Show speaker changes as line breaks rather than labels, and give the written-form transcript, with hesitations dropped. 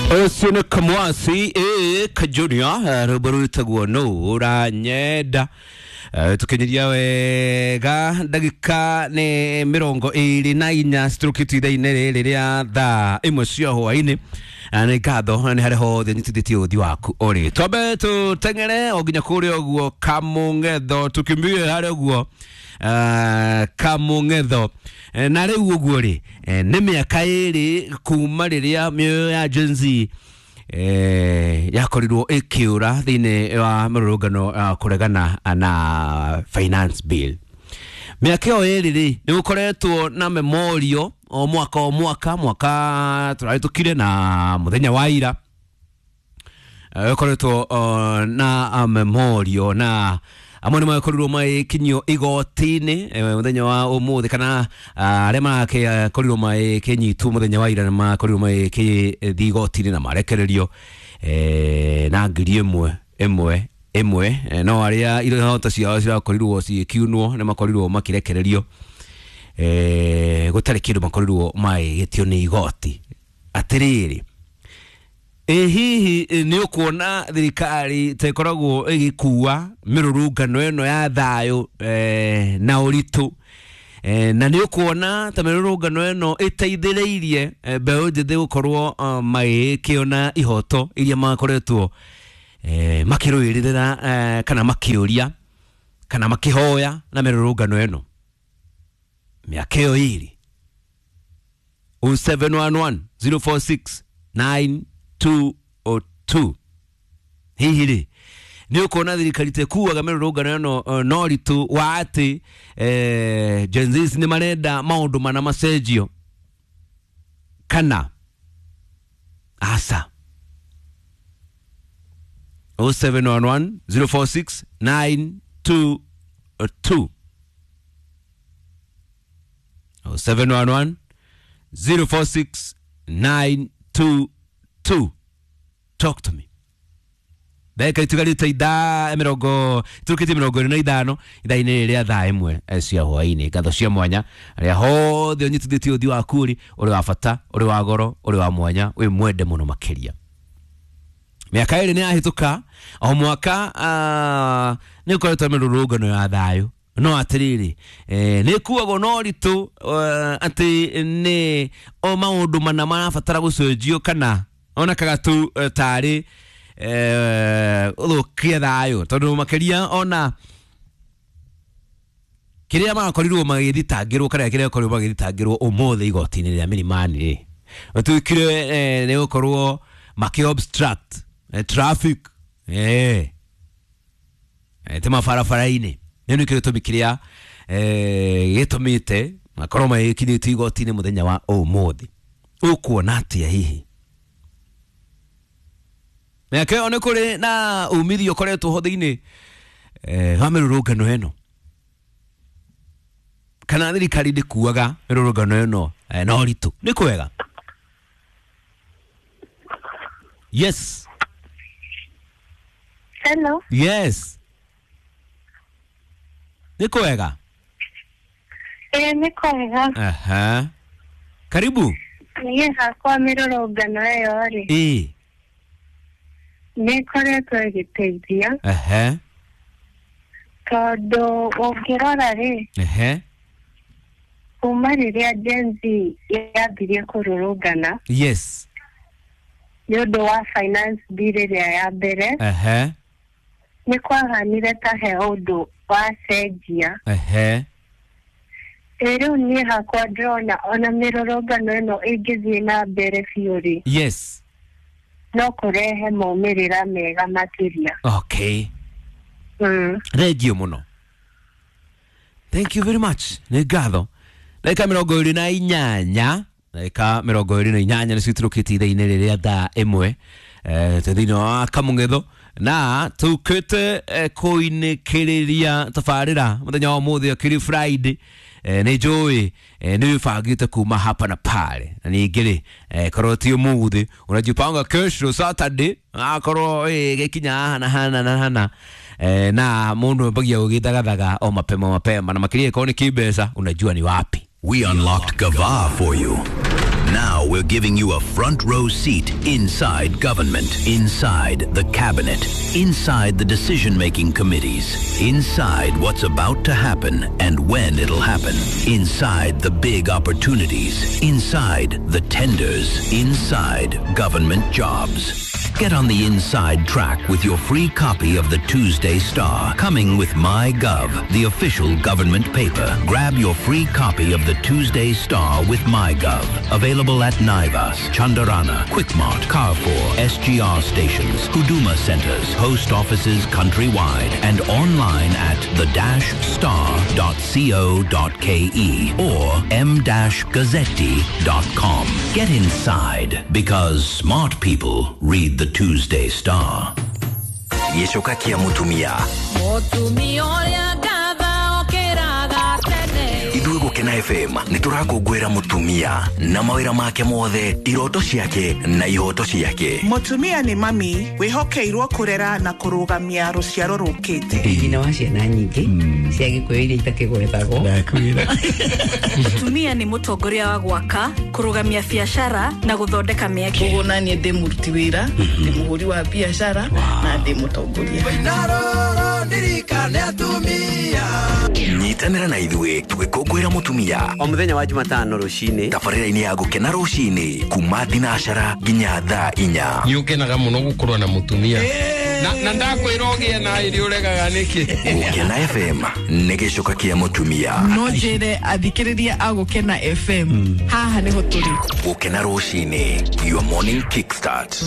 Ũcio nĩ Kamwasi Kajunia, rwĩmbo rwĩtagwo nũ ũranyenda. Tukinyiria wega ndagĩka nĩ 24 citurũkĩtie ithaa-inĩ rĩrĩ rĩa thaa 1 cia hwaĩ-inĩ. Nĩ ngatho nĩ harĩa hothe nyitithĩtie ũthi waku ũrĩ. Twambe tũteng'ere o nginya kũrĩa ũguo Kamũng'etho, tukimbie harĩa ũguo Kamũng'etho. Na rĩu ũguo rĩ, nĩ mĩaka 2 kuma rĩrĩa mĩoyo ya Gen Z yakorirwo ĩkĩũra thĩinĩ wa mĩrũrũngano ya kũregana na finance bill. Mĩaka ĩyo 2 rĩ, nĩ gũkoretwo na memorial o mwaka o mwaka, mwaka tũrahĩtũkire na mũthenya wa ira ũkoretwo na memorial, na amwe nĩ makorirwo magĩkinyio igoti-inĩ mũthenya wa ũmũthĩ, kana arĩa makorirwo magĩkĩnyitwo mũthenya wa ira nĩ makorirwo magĩkĩthiĩ igoti-inĩ na marekererio na 1,000 ĩmwe ĩmwe, no arĩa ihoto ciao cirakorirwo cigĩkiunwo nĩ makorirwo makĩrekererio gũtarĩ kĩndũ makorirwo magĩgĩtio nĩ igoti. Atĩrĩrĩ, ĩ hihi nĩ ũkuona thirikari ta ĩkoragwo ĩgĩkua mĩrũrũngano ĩno ya thayũ na ũritũ, na nĩ ũkuona ta mĩrũrũngano ĩno ĩteithĩrĩirie mbeũ njĩthĩ gũkorwo magĩkĩona ihoto iria makoretwo makĩrũĩrĩra, kana makĩũria kana makĩhoya na mĩrũrũngano ĩno mĩaka ĩyo 2? 0711 046 922. Hihi rĩ, nĩ ũkuona thirikari ta ĩkuaga mĩrũrũngano ĩno na ũritũ wa atĩ Gen Z nĩ marenda maũndũ mana macenjio, kana aca? 0711 046 922, 0711 046 922. Talk to me. Ndagĩka itigarĩte ithaa mĩrongo iturũkĩtie 25 ithaa-inĩ rĩa thaa 1 cia hwaĩ-inĩ. Ngatho cia mwanya arĩa hothe ũnyitithĩtie ũthiũ waku ũrĩ ũrĩ wa bata, ũrĩ wa goro, ũrĩ wa mwanya, wĩ mwende mũno makĩria. Mĩaka 2 nĩ yahĩtũka, o mwaka nĩ ũkoretwo mĩrũrũngano ya thayũ, no atĩrĩrĩ, nĩ ĩkuagwo na ũritũ atĩ nĩ o maũndũ mana marabatara gũcenjio, kana onekaga tu tarĩ ũthũkia thayũ, tondũ makĩria ona kĩrĩa marakorirwo magĩthitangĩrwo, kana kĩrĩa makorirwo magĩthitangĩrwo ũmũthĩ igoti-inĩ rĩa Milimani rĩ, gũtuĩkire nĩ gũkorwo makĩ obstruct traffic te mabarabara-inĩ. Nĩ nĩkĩo gĩtũmi kĩrĩa gĩtũmĩte makorwo magĩkinyĩtio igoti-inĩ mũthenya wa ũmũthĩ. Ũkuona atĩa hihi? Mĩaka ĩyo nĩ kũrĩ na umithio ũkoretwo ho thĩinĩ wa mĩrũrũngano ĩno, kana thirikari ndĩkuaga mĩrũrũngano ĩno na ũritũ? Nĩ kwega? Yes.
Hello.
Yes. Nĩ kwega?
Nĩ kwega.
Aha. Karibu.
Niĩ hakwa mĩrũrũngano ĩyo rĩ, nĩ ĩkoretwo ĩgĩteithia.
Aha.
Tondũ ũngĩrora rĩ,
Ehe.
kuma rĩrĩa Gen Z yambirie kũrũrũngana,
Yes.
nĩ ũndũ wa finance bill ĩrĩa ya mbere,
Ehe.
nĩ kwahanire ta he ũndũ wacenjia.
Ehe.
Rĩu niĩ hakwa ndĩrona ona mĩrũrũngano ĩno ĩngĩthiĩ na mbere biũ rĩ,
Yes.
no kũrehe maumĩrĩra mega makĩria.
Okay. Thank you mũno. Thank you very much. Nĩ ngatho. Ndagĩka 28, ndagĩka 28 nĩcio iturũkĩtie ithaa-inĩ rĩrĩa thaa 1 twĩ thĩinĩ wa Kamũng'etho, na tũkĩte kũinĩkĩrĩria tabarĩra mũthenya wa ũmũthĩ akĩrĩ Friday. Nĩ njũĩ nĩ wĩbangĩte kuma hapa na pale, na ningĩ rĩ, korwo ti ũmũthĩ unajipanga kesho Saturday, akorwo gĩkinya haha na hana na hana, na mũndũ ambagia gũgĩthagathaga o mapema mapema, na makĩria ĩkorwo nĩ kĩmbeca, unajua ni wapi.
We unlocked Gava for you. Now we're giving you a front row seat inside government, inside the cabinet, inside the decision making committees, inside what's about to happen and when it'll happen, inside the big opportunities, inside the tenders, inside government jobs. Get on the inside track with your free copy of the Tuesday Star, coming with MyGov, the official government paper. Grab your free copy of the Tuesday Star with MyGov. Available at Naivas, Chandarana, Quickmart, Carrefour, SGR stations, Huduma centers, post offices countrywide, and online at the-star.co.ke or m-gazzetti.com. Get inside because smart people read the Tuesday Star.
Gĩcoka kĩa mũtumia.
Mũtumia ũrĩa ngatha okĩraga tene.
Ithuĩ Gũkena FM nĩ tũrakũngũĩra mũtumia na mawĩra make mothe, iroto ciake na ihoto ciake.
Mũtumia nĩ mami wĩhokeirwo kũrera na kũrũgamia rũciaro rũkĩte.
Ndĩ nyina wa ciana nyingĩ cia gĩkũyũ iria itakĩgwetagwo.
Mũtumia nĩ mũtongoria wa gwaka, kũrũgamia biacara na gũthondeka mĩeke.
Koguo naniĩ ndĩ mũruti wĩra, ndĩ mũhũri wa biacara na ndĩ mũtongoria.
Nyitanĩra na ithuĩ tũgĩkũngũĩra mũtumia
o mũthenya wa Jumatano rũcinĩ
tabarĩra-inĩ ya Gũkena rũcinĩ kuma thinacara nginya thaa 4.
Nĩ ũkenaga mũno gũkorwo na mũtumia na ndakwĩra ũgĩe na ĩrĩ ũregaga nĩkĩ.
Gũkena FM nĩ gĩcoka kĩa mũtumia.
No njĩre athikĩrĩria a Gũkena FM haha nĩho tũrĩ.
Gũkena rũcinĩ, your morning kickstart.